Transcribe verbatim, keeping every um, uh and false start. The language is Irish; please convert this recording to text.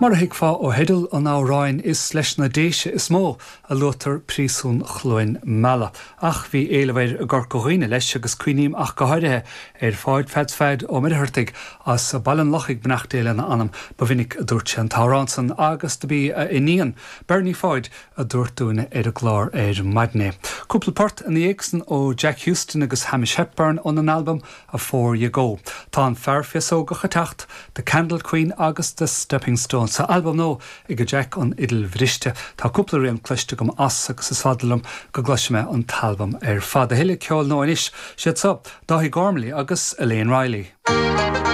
Mar a thuigfeá ó theideal an amhráin is leis na Déise is mó a luaitear príosún Chluain Meala. Ach bhí éileamh air i gCorca Dhuibhne leis agus cuimhním ach go háirithe ar Pháid Pheaits Pheaid Ó Muircheartaigh as Baile an Lochaigh beannacht Dé lena anam ba mhinic a dúirt sé an t-amhrán san agus do b'í a iníon Bernie Pháid a dúirt dúinne ar an gclár ar maidin é. Cúpla port ina dhiaidh san ó Jack Houston agus Hamish Hepburn óna n-albam Afore You Go. Tá an fear féasógach ag teacht, The Candle Queen agus The Stepping Stone sa albam nua ag Jack an Fhidil Bhriste. Tá cúpla rian cloiste agam as agus is fada liom go gcloisfidh mé an t-albam ar fad a thuilleadh ceoil nó anois siad seo Dáithí Gormley agus Elaine Riley.